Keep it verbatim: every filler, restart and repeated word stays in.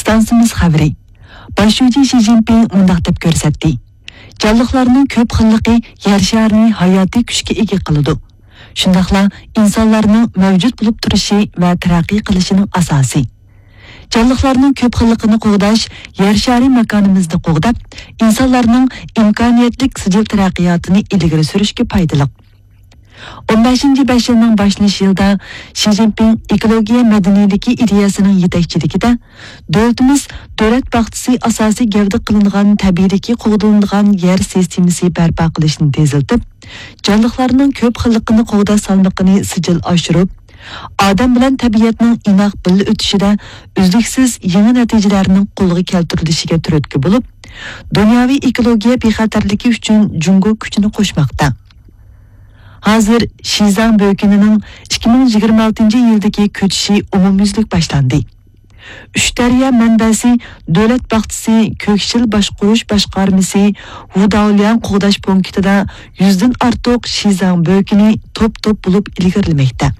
ئىستانسىمىز خەۋىرى. باش شۇجى شى جىنپىڭ مۇنداق دەپ كۆرسەتتى: جانلىقلارنىڭ كۆپ خىللىقى يەر شارىنى ھاياتىي كۈچكە ئىگە قىلىدۇ. شۇنداقلا ئىنسانلارنىڭ مەۋجۇت بولۇپ تۇرۇشى ۋە تەرەققىي قىلىشىنىڭ ئاساسى. جانلىقلارنىڭ كۆپ خىللىقىنى قوغداش يەر شارى ماكانىمىزنى قوغداپ، ئىنسانلارنىڭ ئىمكانىيەتلىك سىجىل تەرەققىياتىنى ئىلگىرى سۈرۈشكە پايدىلىق. ئون بەشىنچى بەش يىلنىڭ باشلىنىش يىلىدا شى جىنپىڭ ئېكولوگىيە مەدەنىيلىكى ئىدىيەسىنىڭ يېتەكچىلىكىدە دۆلىتىمىز دۆلەت باغچىسى ئاساسىي گەۋدە قىلىنغان تەبىئىيلىكى قوغدىلىدىغان يەر سىستېمىسى بەرپا قىلىشنى تېزلىتىپ، جانلىقلارنىڭ كۆپ خىللىقىنى قوغداش سالمىقىنى سىجىل ئاشۇرۇپ، ئادەم بىلەن تەبىئەتنىڭ ئىناق بىللە ئۆتۈشىدە ئۈزلۈكسىز يېڭى نەتىجىلەرنىڭ قولغا كەلتۈرۈلۈشىگە تۈرتكە بولۇپ، دۇنياۋى ئېكولوگىيە بىخەتەرلىكى ئۈچۈن جۇڭگو كۈچىنى قوشماقتا. ھازىر شىزاڭ بۆكىنىنىڭ ئىككى مىڭ يىگىرمە ئالتىنچى يىلدىكى كۆچۈشى ئومۇميۈزلۈك باشلاندى. ئۈچ دەريا مەنبەسى دۆلەت باغچىسى كۆكشىل باشقۇرۇش باشقارمىسى ۋۇداۋلياڭ قوغداش پونكىتىدا يۈزدىن ئارتۇق شىزاڭ بۆكىنى توپ-توپ بولۇپ ئىلگىرىلىمەكتە.